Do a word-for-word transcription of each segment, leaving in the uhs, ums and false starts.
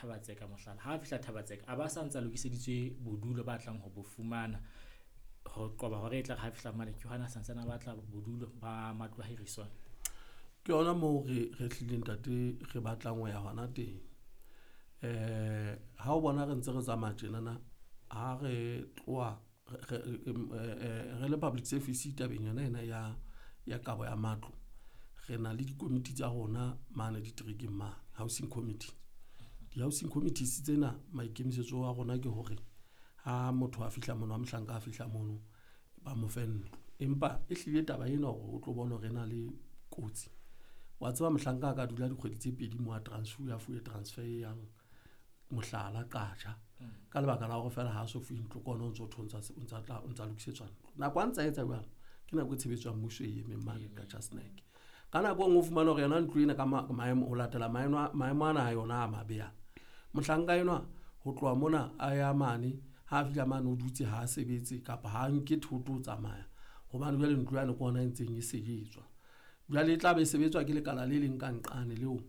Thabatseka mohlala. Ha a fihla Thabatseka a ba sa ntsa lokiseditswe bodulo ba tlang ho bo fumana ho qoba hore e tla re ha fihla mane ke hona santsane a batla bodulo ba matlo a hiriswang. Ke yona moo re re hlileng ntate re batlang ho ya hona teng. Eh ha o bona re ntse re tsamaya tjenana, ha re tloha re re le public service tabeng yona ena ya ya kabo ya matlo. Re na le dikomiti tsa rona mane diterekeng mane, housing committee. Di-housing committees tsena maikemisetso a rona ke hore ha motho a fihla mono, ha mohlanka a fihla mono, ba mo fe ntlo. Empa e hlile taba ena hore o tlo bona hore e na le kotsi. Wa tseba mohlanka a ka dula dikgwedi tse pedi moo a transfer, a fuwe transfer e yang mohlala Qacha. Ka lebaka la hore feela ha so fuwe ntlo ke ona o ntso thwe o ntsa tla o ntsa lokisetswa ntlo. Nako a ntsa etsa jwalo, ke nako e tshebetso ya mmuso e emeng mane Qacha Snack. Ka nako e nngwe o fumana hore yona ntlo ena ka maemo ho latela maemo maemo ana a yona a mabe ana. Mohlanka enwa ho tloha mona a ya mane, ha a fihla mane o dutse ha a sebetse kapa ha nke thoto o tsamaya. Hobane jwale ntlo yane ke ona e ntseng e sebetswa. Jwale e tla be e sebetswa ke lekala le leng ka nqane leo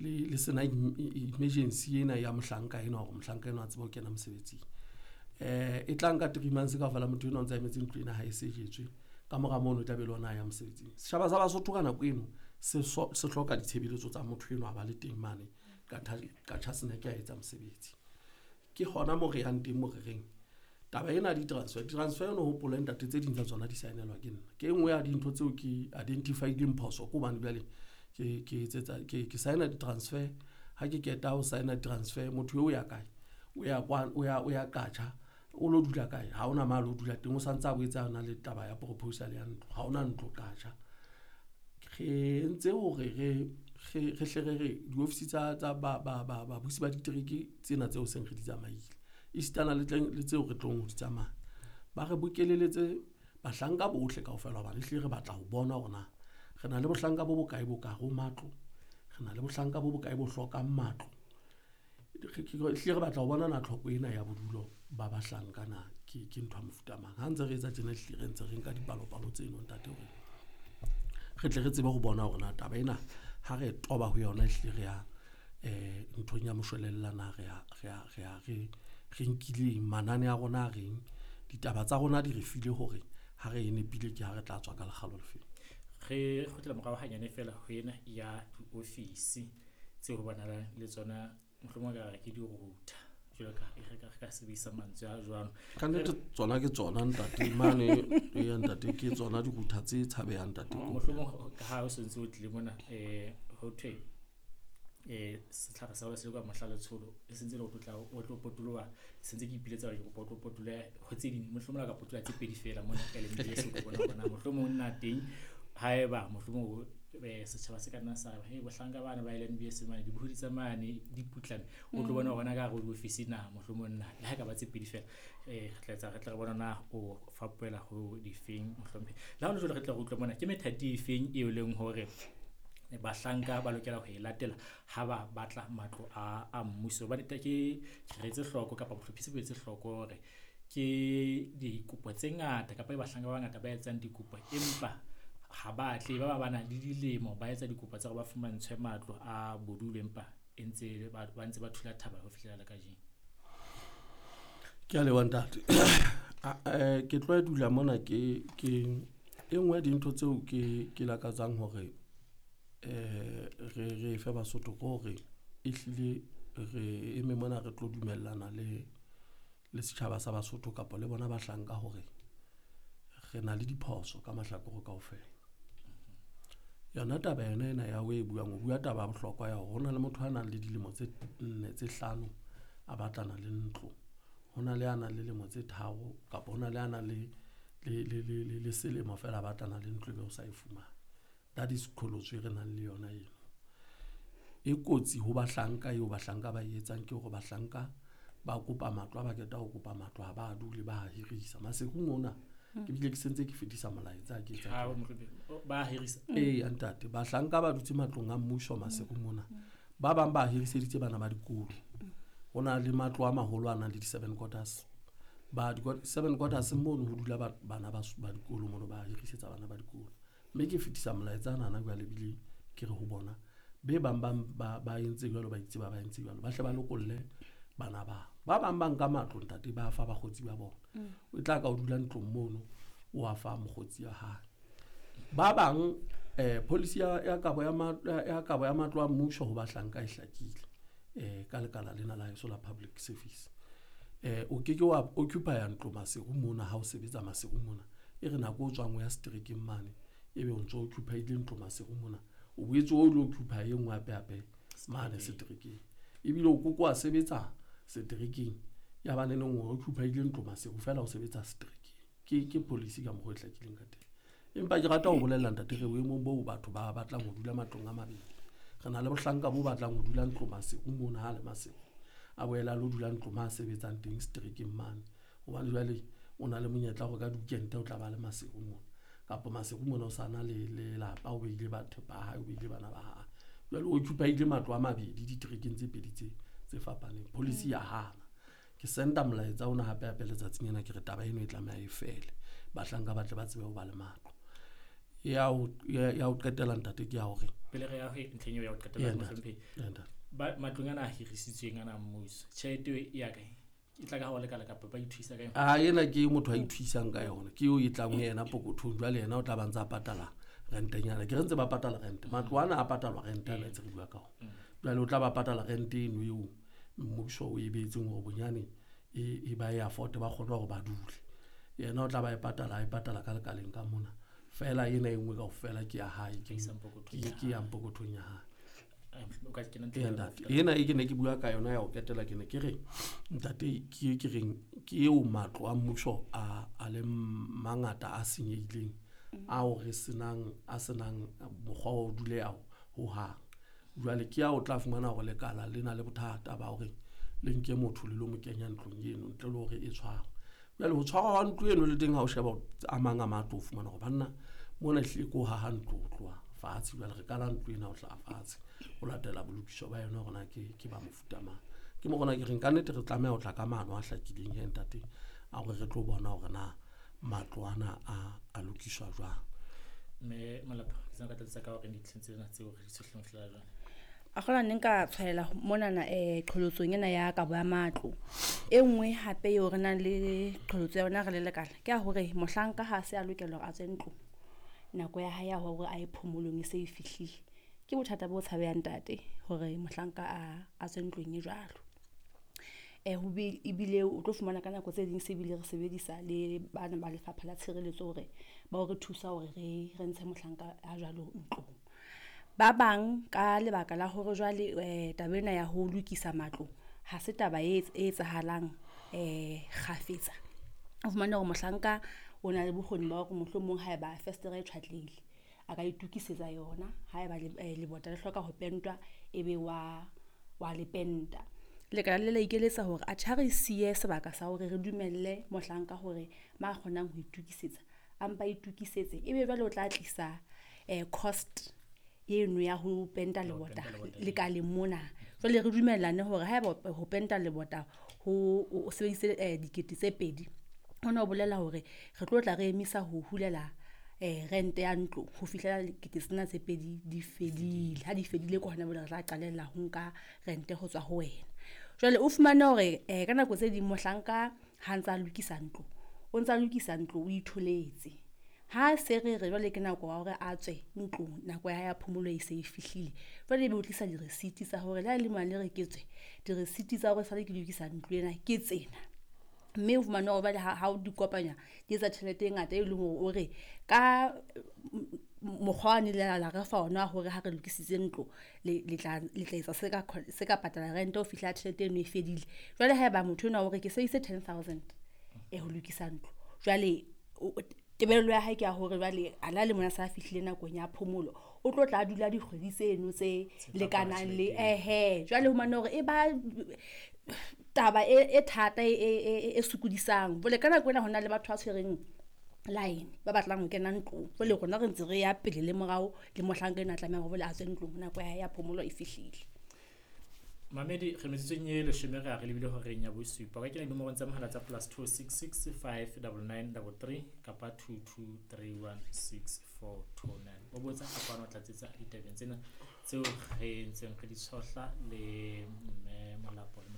le le sena emergency ena ya mohlanka enwa hore mohlanka enwa a tsebe ho kena mosebetsing. Eh e tla nka three months kaofela motho enwa o ntsa emetse ntlo ena ha e sejetswe. Ka mora mono e tla be le ona a ya mosebetsing. Setjhaba sa Basotho ka nako eno se se hloka ditshebeletso tsa motho enwa a ba le teng mane ka Qacha Snack a etsa mosebetsi. Ke hona moo re yang teng moo re reng taba ena di-transfer, transfer no hopole ntate tse ding tsa tsona di saenelwa ke nna. Ke e nngwe ya dintho tseo ke identify-ileng phoso ke hobane jwale ke ke etsetsa ke ke saena di-transfer. Ha ke qeta ho saena transfer, motho eo o ya kae? O ya kwa o ya o ya Qacha, o lo dula kae? Ha hona mo a lo dula teng, o santse a boetse a na le taba ya proposal ya ntlo. Ha hona ntlo Qacha. Re entse hore re re re hle re re diofisi tsa tsa ba ba ba babusi ba ditereke tsena tseo seng re di tsamaile. Esitana le tleng le tseo re tlong ho di tsamaya. Ba re bokeleletse bahlanka bohle kaofela hobane ehlile re batla ho bona hore na re na le bohlanka bo bokae bo ka hare ho matlo, re na le bohlanka bo bokae bo hlokang matlo. Ehlile re batla ho bona na tlhoko ena ya bodulo ba bahlanka na ke ke ntho ya mofuta mang. Ha ntse re etsa tjena ehlile re ntse re nka dipalopalo tseno ntate hore re tle re tsebe ho bona hore na taba ena ha re toba ho yona ehlile re ya eh nthong ya moshwelella na re ya re ya re ya re re nkile manane a rona a reng ditaba tsa rona di re file hore ha re e nepile ke ha re tla tswa ka lekgalo lefeng. Re kgutlela morao hanyane feela ho ena ya diofisi tseo ho bonahalang le tsona mohlomong ka re ke di-router jwalo ka re ka re ka sebedisa mantswe a jwalo. Ka nnete tsona ke tsona ntate mane ya ntate ke tsona di-router tse tshabehang ntate. Mohlomong ka ha o sentse o tlile mona eh ho thwe eh setlhare sa se le ka mohla letsholo e sentse le ho tla o tlo potoloha sentse ke ipiletsa hore ke kopa o tlo potoloha ho tse ding mohlomong la ka potoloha tse pedi feela mona ka le ntse se bona bona mohlomong nna teng haeba mohlomong setjhaba se ka nna sa he bohlanka bana ba L N B S mane dibohodi tsa mane di putlame o tlo bona hona ka hare ho diofisi na mohlomong nna le ha ka ba tse pedi feela eh re tla etsa re tla re bona na o fapohela ho difeng mohlompheng le ha ho le jwalo re tla re utlwa mona ke methati efeng eo leng hore bahlanka ba lokela ho e latela ha ba batla matlo a a mmuso. Hobane ke re etse hloko kapa bohlophisi bo etse hloko hore ke dikopo tse ngata kapa bahlanka ba bangata ba etsang dikopo empa ha ba tle ba ba ba na le dilemo ba etsa dikopo tsa hore ba fumantshwe matlo a bodulo empa e ntse ba ba ntse ba thula thaba ho fihlela le kajeno. Ke a leboha ntate. Eh ke tlo dula mona ke ke e nngwe ya dintho tseo ke ke lakatsang hore eh re re fe Basotho ke hore ehlile re eme mona re tlo dumellana le le setjhaba sa Basotho kapa le bona bahlanka hore re na le diphoso ka mahlakore kaofela. Yona taba yona ena ya o e buang, o bua taba ya bohlokwa ya hore ho na le motho a nang le dilemo tse nne tse hlano a batlana le ntlo. Ho na le a nang le lemo tse tharo kapa ho na le a nang le le le le le selemo feela a batlana le ntlo ebe o sa e fumane. That is qholotso e re nang le yona eno. E kotsi ho bahlanka eo bahlanka ba e etsang ke hore bahlanka ba kopa matlo, ha ba qeta ho kopa matlo ha ba dule ba hirisa. Maseru ona ke bile ke sentse ke fetisa molaetsa ke etsa. Ha mohlompheng ba hirisa. Ee ntate, bahlanka ba dutse matlong a mmuso Maseru mona. Ba bang ba hiriseditse bana ba dikolo. Ho na le matlo a maholo a nang le di-seven quarters. Ba seven quarters mono ho dula bana ba ba dikolo mono ba hirisetsa bana ba dikolo. Mme ke fetisa molaetsa nana jwale ebile ke re ho bona Be bang bang ba ba entse jwalo, ba itse ba ba entse jwalo, ba hle ba lokolle bana ba. Ba bang ba nka matlo ntate ba fa bakgotsi ba bona. O tla ka o dula ntlong mono, o a fa mokgotsi wa hae. Ba bang eh policy ya ya kabo ya ya kabo ya matlo a mmuso ho bahlanka e hlakile eh ka lekala lena la heso la public service. Eh o ke ke wa occupy ntlo Maseru mona ha o sebetsa Maseru mona. E re nako o tswang o ya streekeng mane ebe o ntso occupy ile ntlo Maseru mona. O boetse o lo occupy e nngwe hape hape mane streekeng. Ebile o koko a sebetsa streekeng ya ba neneng o occupy ile ntlo Maseru fela o sebetsa streekeng. Ke ke policy ka mokgwa e hlakileng ka teng. Empa ke rata ho bolella ntate re boemong boo batho ba batlang ho dula matlong a mabedi. Re na le bohlanka bo batlang ho dula ntlo Maseru mona ha le Maseru. A boela lo dula ntlo ma sebetsang teng streekeng mane. Hobane jwale o na le monyetla hore ka weekend o tla ba le Maseru mona. Kapa Maseru mona o sa na le lelapa, o beile batho ba hae, o beile bana ba hae. Jwale o occupy-ile matlo a mabedi ditrekeng tse pedi tse tse fapaneng. Policy ya hana. Ke senda molaetsa ona hape hape letsatsing lena ke re taba eno e tlameha e fele. Bahlanka ba tle ba tsebe ho ba le matlo. Ya ho ya ho qetela ntate ke ya hore pele re ya ho ntlheng eo ya ho qetela mohlomphehi. Ba matlong ana a hirisitsweng ana mmuso, tjhelete eo e ya kae? E tla ka ho lekala kapa ba ithuisa ka yona? Ah, ena ke motho a ithuisang ka yona. Ke eo e tlang ho yena pokothong. Jwale yena o tla ba ntsa patala rentenyana. Ke re ntse ba patala rente. Matlo ana a patalwa rente ana tse re bua ka ona. Jwale o tla ba patala rente eno eo mmuso o e beetseng hore bonyane e e ba e afford ba kgone hore ba dule. Yena o tla ba e patala, a e patala ka lekaleng ka mona. Fela ena e nngwe kaofela ke ya hae, ke ke ya pokothong ya hae. Ena e ke ne ke bua ka yona ya ho qetela ke ne ke re ntate ke ke reng ke eo matlo a mmuso a a le mangata a senyehileng ao re senang a senang mokgwa wa ho duleha ho hang. Jwale ke ya o tla fumana hore lekala le na le bothata ba hore le nke motho le lo mo kenya ntlong eno ntle le hore e tshwarwe. Jwale ho tshwarwa ha ntlo eno le teng ha o sheba a mang a matlo o fumana hore banna mona ehlile ke ho haha ntlo ho tloha fatshe. Jwale re kala ntlo ena ho hlaha fatshe ho latela bolokiso ba yona hore na ke ke ba mofuta mang. Ke mo rona ke reng ka nnete re tlameha ho tla ka maano a hlakileng he ntate a hore re tlo bona hore na matlo ana a a lokiswa jwang. Mme Malapa, ke tsena ka tlatsetsa ka hore dintlheng tsena tseo re di tshohleng fela jwale. A kgola ne nka tshwaela monana eh qholotsong ena ya kabo ya matlo. E nngwe hape eo re nang le qholotso ya yona re le lekala ke ya hore mohlanka ha se a lokela hore a tswe ntlong, nako ya hae ya hore a ye phomolong e se e fihlile. Ke bothata bo tshabehang ntate hore mohlanka a a tswe ntlong e jwalo. Eh ho ebile o tlo fumana ka nako tse ding se bile re sebedisa le bana ba lefapha la tshireletso hore ba o re thusa hore re re ntshe mohlanka a jwalo ntlong. Ba bang ka lebaka la hore jwale eh taba ena ya ho lokisa matlo ha se taba e etsahalang eh kgafetsa. O fumane hore mohlanka o na le bokgoni ba hore mohlomong haeba festere e tjhwatlehile a ka itokisetsa yona, haeba lebota le hloka ho pentwa ebe wa wa le penta. Lekala le la ikeletsa hore atjhe ha re siye sebaka sa hore re dumelle mohlanka hore ma kgonang ho itokisetsa a mpa itokisetse, ebe jwale o tla tlisa eh cost eno ya ho penta lebota lekaleng mona. Jwale re dumellane hore haeba ho penta lebota ho o sebedise dikete tse pedi, hona ho bolela hore re tlo tla re emisa ho hulela eh rente ya ntlo ho fihlela dikete tsena tse pedi di fedile. Ha di fedile ke hona jwale re tla qalella ho nka rente ho tswa ho wena. Jwale o fumane hore eh ka nako tse ding mohlanka ha ntsa lokisa ntlo, o ntsa lokisa ntlo o itholetse. Ha se re re jwale ke nako ya hore a tswe ntlong, nako ya hae ya phomolo e se e fihlile. Jwale ebe o tlisa di-receipt tsa hore le ha le mane re ke tswe, di-receipt tsa hore sale ke lokisa ntlo ena ke tsena. Mme o fumane hore jwale ha o di kopanya di etsa tjhelete e ngata e leng hore o re ka mokgwa wa ne le la re fa ona hore ha re lokisitse ntlo le le tla le tla etsa se ka se ka patala rente ho fihla tjhelete eno e fedile. Jwale haeba motho enwa o re ke sebedisitse ten thousand e ho lokisa ntlo, jwale tebello ya hae ke ya hore jwale a la le mona sa fihlile nakong ya phomolo, o tlo tla dula dikgwedi tseno tse lekanang le ehe. Jwale ho fumane hore e ba taba e thata e e sokodisang. Jwale ka nako ena hona le batho ba tshwereng line ba batlang ho kena ntlong. Jwale rona re ntse re ya pele le morao le mohlanka enwa a tlameha hore a tswe ntlong nako ya hae ya phomolo e fihlile. Mamedi re metsotsong e leshome re a re lebile horeng ya bosupa. O ka kena dinomorong tsa mohala tsa plus two six six five double nine double three kapa two two three one six four two nine. O botsa kapa o tlatsetsa ditabeng tsena Tseo re ntseng re di tshohla le mme Molapo le